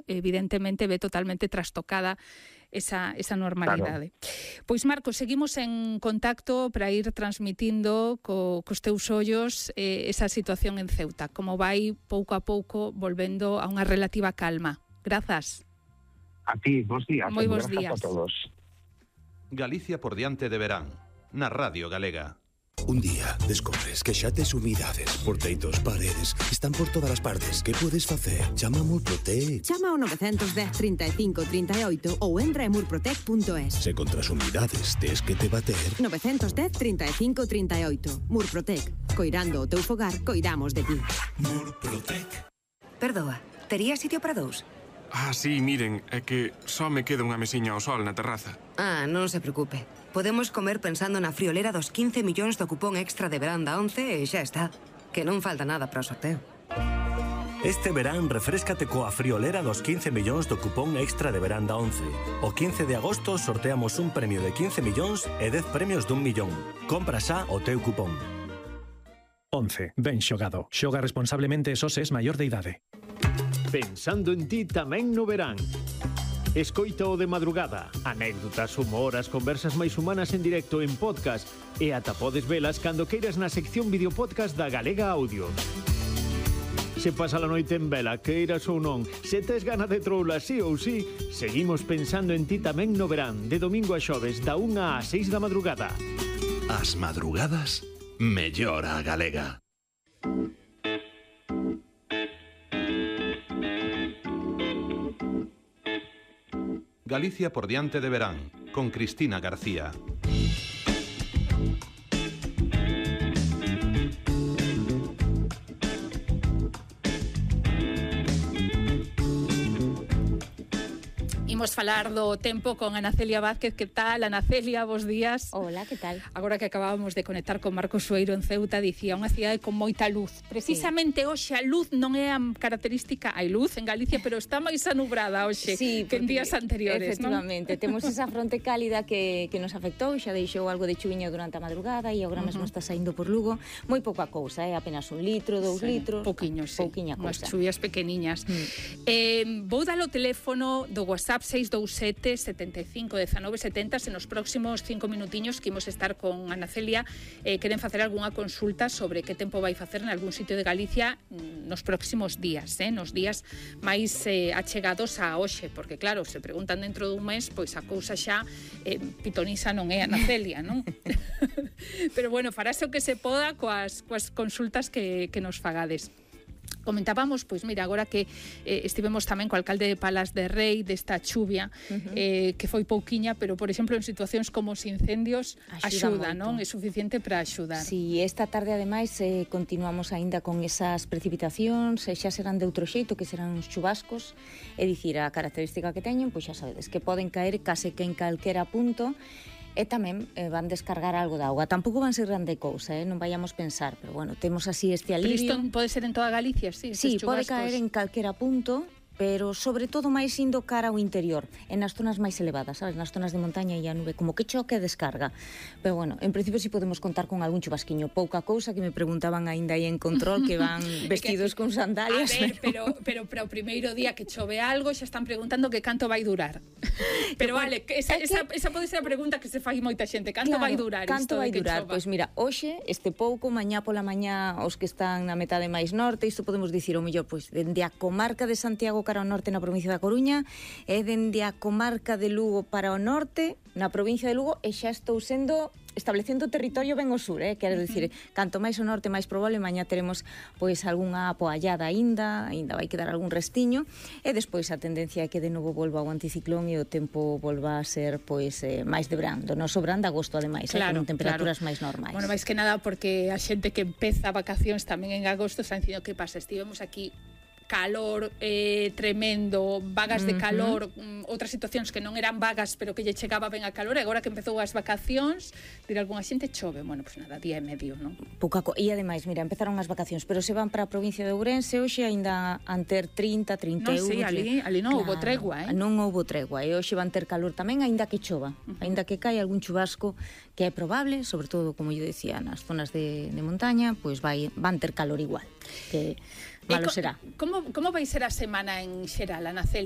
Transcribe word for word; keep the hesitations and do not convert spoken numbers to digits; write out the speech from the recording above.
evidentemente ve totalmente trastocada esa, esa normalidade. Claro. Pois, Marcos, seguimos en contacto para ir transmitindo co, cos teus ollos eh, esa situación en Ceuta, como vai pouco a pouco volvendo a unha relativa calma. Grazas. A ti, bons días. Moi bons días a todos. Galicia por diante de verán, na Radio Galega. Un día descobres que xa tes humidades, porteitos, paredes, están por todas as partes. Que podes facer? Chama a Murprotec. Chama ao nove un cero, trinta e cinco, trinta e oito ou entra en murprotec punto es. Se contra as humidades tes que te bater. nove un cero, trinta e cinco, trinta e oito. Murprotec. Coirando o teu fogar, coidamos de ti. Murprotec. Perdoa, tería sitio para dous? Ah, sí, miren, é que só me queda unha mesiña ao sol na terraza. Ah, non se preocupe. Podemos comer pensando na friolera dos quince millóns do cupón extra de verán da once e xa está. Que non falta nada para o sorteo. Este verán refréscate coa friolera dos quince millóns do cupón extra de verán da once. O quince de agosto sorteamos un premio de quince millóns e dez premios dun millón. Compra xa o teu cupón. once. Ben xogado. Xoga responsablemente e só se es maior de idade. Pensando en ti tamén no verán. Escoita o de madrugada, anécdotas, humor, as conversas máis humanas en directo en podcast e ata podes velas cando queiras na sección videopodcast da Galega Audio. Se pasa a noite en vela, queiras ou non, se tes gana de troula sí ou sí, seguimos pensando en ti tamén no verán, de domingo a xoves, da unha a seis da madrugada. As madrugadas, mellor a Galega. Galicia por diante de verán, con Cristina García. Imos falar do tempo con Ana Celia Vázquez. Que tal, Ana Celia? Bos días. Hola, que tal? Agora que acabábamos de conectar con Marcos Sueiro en Ceuta, dicía unha cidade con moita luz. Precisamente sí. Hoxe a luz non é a característica, hai luz en Galicia, pero está máis anubrada hoxe sí, que en días anteriores, efectivamente, non? Temos esa fronte cálida que, que nos afectou, xa deixou algo de chuviño durante a madrugada e agora mesmo uh -huh. está saindo por Lugo. Moi pouca cousa, é eh? apenas un litro, dous sí, litros. Pouquiño, sí. Pouquiña cousa. Unhas chuvias pequeniñas. Mm. Eh, vou dar o teléfono do WhatsApp seis dous sete, setenta e cinco, dezanove, setenta. Se nos próximos cinco minutiños que imos estar con Ana Celia eh, queren facer algunha consulta sobre que tempo vai facer en algún sitio de Galicia nos próximos días, eh, nos días máis eh, achegados a hoxe, porque claro, se preguntan dentro dun mes, pois a cousa xa eh, pitonisa non é, Ana Celia, non? Pero bueno, farase o que se poda coas, coas consultas que, que nos fagades. Comentábamos, pois mira, agora que eh, estivemos tamén co alcalde de Palas de Rei desta chuvia, uh -huh. eh, que foi pouquiña, pero por exemplo en situacións como os incendios axuda, axuda non? É suficiente para axudar. Si, sí, esta tarde ademais eh, continuamos aínda con esas precipitacións, e xa serán de outro xeito, que serán uns chubascos, é dicir, a característica que teñen, pois xa sabedes, que poden caer case que en calquera punto, e tamén eh, van descargar algo de auga. Tampouco van ser grande cousa, eh? Non vayamos pensar, pero bueno, temos así este alivio. Pero isto pode ser en toda Galicia, sí? Sí, pode caer en calquera punto, pero sobre todo máis indo cara ao interior, en as zonas máis elevadas, sabes, nas zonas de montaña e a nube, como que choque e descarga. Pero bueno, en principio si sí podemos contar con algún chubasquiño, pouca cousa, que me preguntaban aínda aí en control que van vestidos con sandalias. A ver, pero pero para o primeiro día que chove algo, xa están preguntando que canto vai durar. Pero vale, que esa, esa, esa pode ser a pregunta que se fai moita xente, canto claro, vai durar canto isto vai de que durar? chova? Pois mira, hoxe, este pouco, mañá pola mañá, os que están na metade máis norte, isto podemos dicir o mellor, pois, dende a comarca de Santiago cara ao norte na provincia da Coruña, e dende a comarca de Lugo para o norte na provincia de Lugo, e xa estou sendo establecendo territorio ben ao sur, eh? Quero dicir, canto máis ao norte máis probable, mañá teremos pois algunha apoallada aínda, aínda vai quedar algún restiño, e despois a tendencia é que de novo volva o anticiclón e o tempo volva a ser pois eh, máis de verán, do noso verán de agosto ademais, claro, eh, con temperaturas claro. máis normais. Bueno, máis que nada porque a xente que empeza vacacións tamén en agosto está dicindo que pasa, estivemos aquí calor eh, tremendo, vagas de calor, uh-huh. um, outras situacións que non eran vagas pero que lle chegaba ben a calor, e agora que empezou as vacacións, dirá algunha xente chove, bueno, pois pues nada, día e medio, non? Pouca co... E ademais, mira, empezaron as vacacións, pero se van para a provincia de Ourense, hoxe aínda han ter trinta, trinta e un... Non, sí, ali, ali non claro, houbo tregua, eh? Non houbo tregua, e hoxe van ter calor tamén, aínda que chova, uh-huh. aínda que cae algún chubasco, que é probable, sobre todo, como eu decía, nas zonas de, de montaña, pois pues vai, van ter calor igual, que malo será. Como, como vai ser a semana en xeral, Ana Celia?